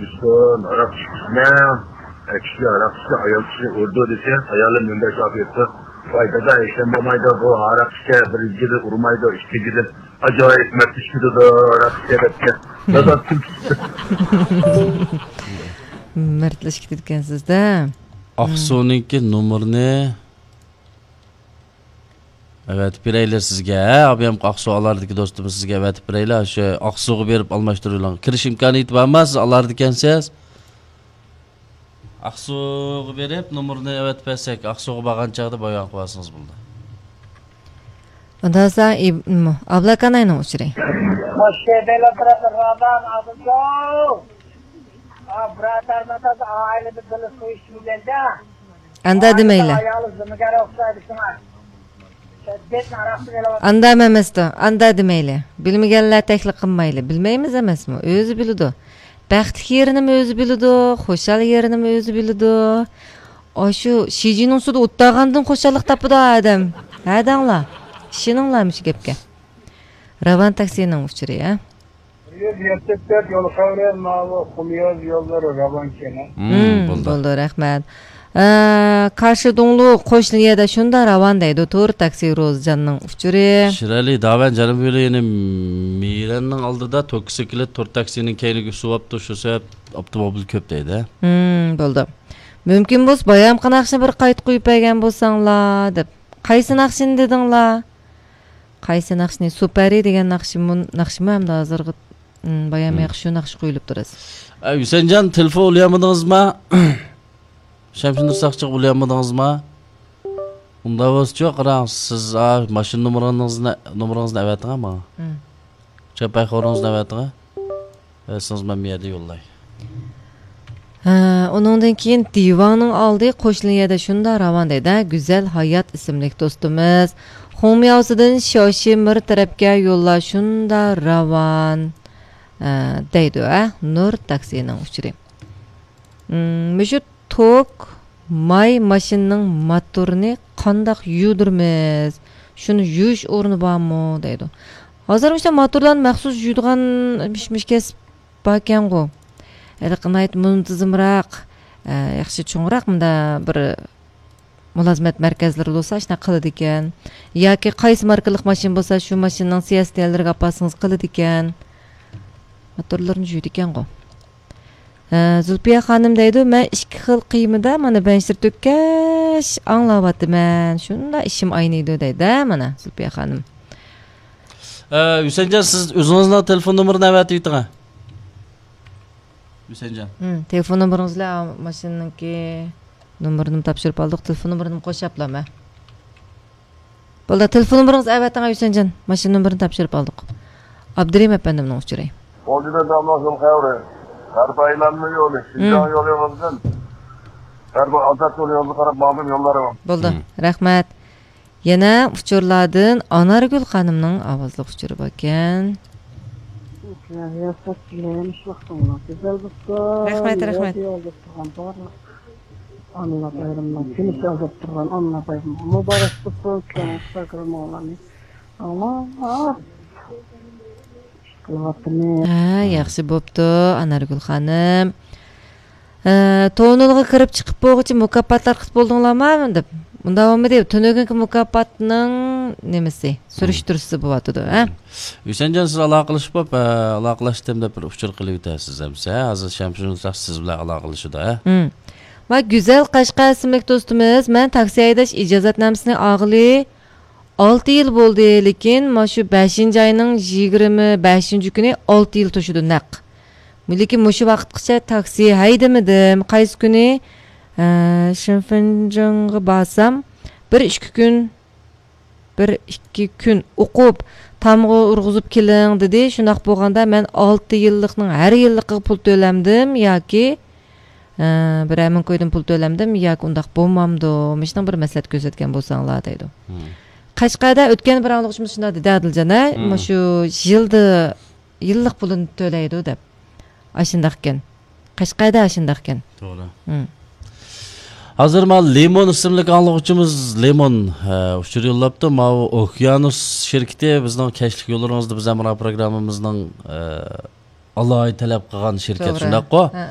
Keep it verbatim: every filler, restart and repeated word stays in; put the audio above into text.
ئىشتىن ھاراق ئىچمە. ئەر كىشى ھاراق ئىچسە، ئايال كىشى ئۇرىدۇ دېسە، ئايالى مۇنداق جاۋاب بېرىپتۇ: «ۋاي دادا، ھېچنېمە بولمايدۇ، بۇ ھاراق ئىچسە، بىرىنچىدىن ئۇرمايدۇ، ئىككىنچىدىن ئاجايىپ مەستلىشىپ كېتىدۇ ھاراق ئىچسە» دەپتىكەن. دادا تۈرك. مەستلىشىپ كېتىدىكەنسىز-دە. ئاقسۇنىڭكى نومۇرىنى ئەۋەتىپ بېرەيلى سىزگە، ھە، ئابىيام ئاقسۇ ئالاردىكى دوستىمىز سىزگە ئەۋەتىپ بېرەيلى، شۇ ئاقسۇغا بېرىپ ئالماشتۇرۇۋېلىڭ. كىرىش ئىمكانىيىتى بارمۇ؟ سىز ئالاردىكەنسىز. ئاقسۇغا بېرىپ نومۇرنى ئەۋەتىپ بەرسەك، ئاقسۇغا بارغان چاغدا بايان قىلىۋالسىڭىز بولىدۇ. ئۇنداق بولسا، ئىب-، م-، ئابلاكاناينىڭ ئۇچۇرى. مۇشۇ بېلىپ تۇرىدۇ، رادان ئابىزو. ئا، بىرادەرلەر ئائىلىدە بىللە سۇ ئىچمىگەندە. ئاندا دېمەيلى. ئاندا ئەمەستۇ، ئاندا دېمەيلى. بىلمىگەنلەر تەكلىپ قىلمايلى. بىلمەيمىز ئەمەسمۇ، ئۆزى بىلىدۇ. بەختلىك يېرىنىمۇ ئۆزى بىلىدۇ، خۇشال يېرىنىمۇ ئۆزى بىلىدۇ. ئاشۇ شىجىنىڭ ئۈستىدە ئولتۇرغاندىن خۇشاللىق تاپىدۇ ئادەم. ھە دەڭلار. ئىشىنىڭلار مۇشۇ گەپكە. راۋان تاكسىنىڭ ئۇچۇرى، ھە؟ بىر يۈز يەتتە تۆت يول خەۋىرى، ماۋۇ قۇمياز يوللىرى راۋانكەن. مم، مم، بولدى. بولدى، رەھمەت. ئە، قارشىدۇڭلۇق قوشنا يەردە شۇنداق راۋان دەيدۇ، تور تاكسى روزىجاننىڭ ئۇچۇرى. شىرئەلى، داۋەن جەنۇبىي يولى، يەنە مىرەننىڭ ئالدىدا توكسىكلىت تور تاكسىنىڭ كەينىگە ئۈسۈۋاپتۇ، شۇ سەۋەب ئاپتوموبىل كۆپ دەيدۇ. مم، بولدى. مۇمكىن بولسا بايامقى ناخشىنى بىر قايتا قويۇپ بەرگەن بولساڭلار، دەپ. قايسى ناخشىنى دېدىڭلار؟ قايسى ناخشىنى؟ سۇپەرى دېگەن ناخشىمۇ، ناخشىمۇ ئەمدى ھازىرغا، م، بايام مم. ياخشى شۇ ناخشا قويۇلۇپ تۇرىسى. ئە، ھۈسەنجان، تېلېفون ئۇلىيالمىدىڭىزما؟ شەمشىنۇر ساقچىغا ئۇلىيالمىدىڭىزما؟ ئۇنداق بولسىچۇ، قاراڭ، سىز، ئا، ماشىنا نومۇرىڭىزنى، نومۇرىڭىزنى ئەۋەتىڭ ماڭا. مم. چاپاي خورىڭىزنى ئەۋەتىڭ. ئەۋەتسىڭىز مەن بۇ يەردە يوللاي. ھە، ئۇنىڭدىن كېيىن دىۋاڭنىڭ ئالدى قوشنا يەردە شۇنداق راۋان دەيدۇ، ھە، گۈزەل ھايات ئىسىملىك دوستىمىز. خۇڭمياۋسىدىن شياۋشىمىر تەرەپكە يوللار شۇنداق راۋان، ھە، دەيدۇ، ھە، نۇر تاكسىنىڭ ئۇچۇرى. مم، مۇشۇ توك ماي ماشىنىنىڭ موتورىنى قانداق يۇدۇرىمىز؟ شۇنى يۇيۇش ئورنى بارمۇ؟ دەيدۇ. ھازىر مۇشۇ موتورلارنى مەخسۇس يۇيىدىغان مىش-، مىش كەسىپ باركەنغۇ. ھېلىقى ناھايىتى مۇنتىزىمراق، ئە، ياخشى چوڭراق مۇنداق بىر مۇلازىمەت مەركەزلىرى بولسا ئاشۇنداق قىلىدىكەن. ياكى قايسى ماركىلىق ماشىنا بولسا شۇ ماشىنىنىڭ سىياسىتىيەنلىرىگە ئاپارسىڭىز قىلىدىكەن. موتورلىرىنى يۇيىدىكەنغۇ. ھە، زۇلپىيە خانىم دەيدۇ، مەن ئىككى خىل قىيمىدا مانا بەنشىر تۆككەچ ئاڭلاۋاتىمەن. شۇنداق ئىشىم ئاينىيدۇ دەيدۇ، مانا زۇلپىيە خانىم. ئە، ھۈسەنجان، سىز ئۆزىڭىزنىڭ تېلېفون نومۇرىنى ئەۋەتىۋېتىڭ. ھۈسەنجان. ھىم، تېلېفون نومۇرىڭىز بىلەن ماشىنىنىڭكى نومۇرىنىمۇ تاپشۇرۇپ ئالدۇق. تېلېفون نومۇرىنىمۇ قوشۇپلامە. بولدى، تېلېفون نومۇرىڭىزنى ئەۋەتىڭ، ھۈسەنجان. ماشىنا نومۇرىنى تاپشۇرۇپ ئالدۇق. ئابدۇرېھىم ئەپەندىمنىڭ ئۇچۇرى. بولدى، بەك داملاسىڭ خەۋرى. غەربىي ئايلانما يولى، شىنجاڭ ھىم. يولى يولىدىن. غەربىي ئازاد يولى يولىدىن قاراپ ماڭدىم يوللارغا. بولدى، ھىم. رەھمەت. يەنە ئۇچۇرلاردىن ئانارگۈل خانىمنىڭ ئاۋازلىق ئۇچۇرى باركەن. ياخشى ۋاقتىڭلار گۈزەل بولسۇن. رەھمەت، رەھمەت. رادىيو ئاڭلاپ تۇرغان بارلىق ئانىلار بايرىمىنىڭ كۈنى، ئاڭلاپ تۇرغان ئانىلار بايرىمى مۇبارەك بولسۇن. شۇڭا ئىنستاگراممۇڭلارنى ئاڭلاپ قىلىۋاتىمىز. ھە، ياخشى بوپتۇ، ئانارگۈل خانىم. ھە، تونېلغا كىرىپ چىقىپ بولغۇچە مۇكاپاتلار قىلىپ بولدۇڭلارمۇ؟ دەپ. ئۇنداق بولمىدى. تۈنۈگۈنكى مۇكاپاتنىڭ نېمىسى؟ سۈرۈشتۈرۈشى بولۇۋاتىدۇ، ھە؟ ھۈسەنجان، سىز ئالاقىلىشىپ بوپ، ھە، ئالاقىلاشتىم دەپ بىر ئۇچۇر قىلىۋېتەرسىز ئەمسە. ھازىر شەمشىنۇر ساقچى سىز بىلەن ئالاقىلىشىدۇ، ھە؟ ھىم. ۋە گۈزەل قەشقەر ئىسىملىك دوستىمىز، مەن تاكسى ھەيدەش ئىجازەتنامىسىنى ئالغىلى ئالتە يىل بولدى، لېكىن مانا شۇ بەشىنچى ئاينىڭ يىگىرمە بەشىنچى كۈنى ئالتە يىل توشىدۇ نەق. لېكىن مۇشۇ ۋاقىتقىچە تاكسى ھەيدىمىدىم. قايسى كۈنى، ئە، شىنفېنجېنغا بارسام، بىر ئىككى كۈن، بىر ئىككى كۈن ئوقۇپ، تامغا ئۇرغۇزۇپ كېلىڭ دېدى. شۇنداق بولغاندا مەن ئالتە يىللىقنىڭ ھەر يىللىقىغا پۇل تۆلەمدىم ياكى ئە، بىرەر مىڭ كويدىن پۇل تۆلەمدىم ياكى ئۇنداق بولمامدۇ؟ مۇشۇنىڭ بىر مەسلىھەت كۆرسەتكەن بولساڭلار دەيدۇ. مم. قەشقەردە ئۆتكەن بىر ئاڭلىغۇچىمىز شۇنداق دېدى، ئادىلجان، ھە؟ مم. مۇشۇ يىلدا، يىللىق پۇلىنى تۆلەيدۇ دەپ. ئاشۇنداقكەن. قەشقەردە ئاشۇنداقكەن. توغرا. مم. ھازىر مانا لىمون ئىسىملىك ئاڭلىغۇچىمىز لىمون، ئە، ئۇچۇر يوللاپتۇ. ماۋۇ ئوكيانۇس شىركىتى بىزنىڭ كەچلىك يوللىرىڭىزدا بىز ھەمراھ پروگراممىمىزنىڭ، ئە، ئالاھىدە تەلەپ قىلغان شىركەت، توغرا. شۇنداققۇ؟ ھە، ھە.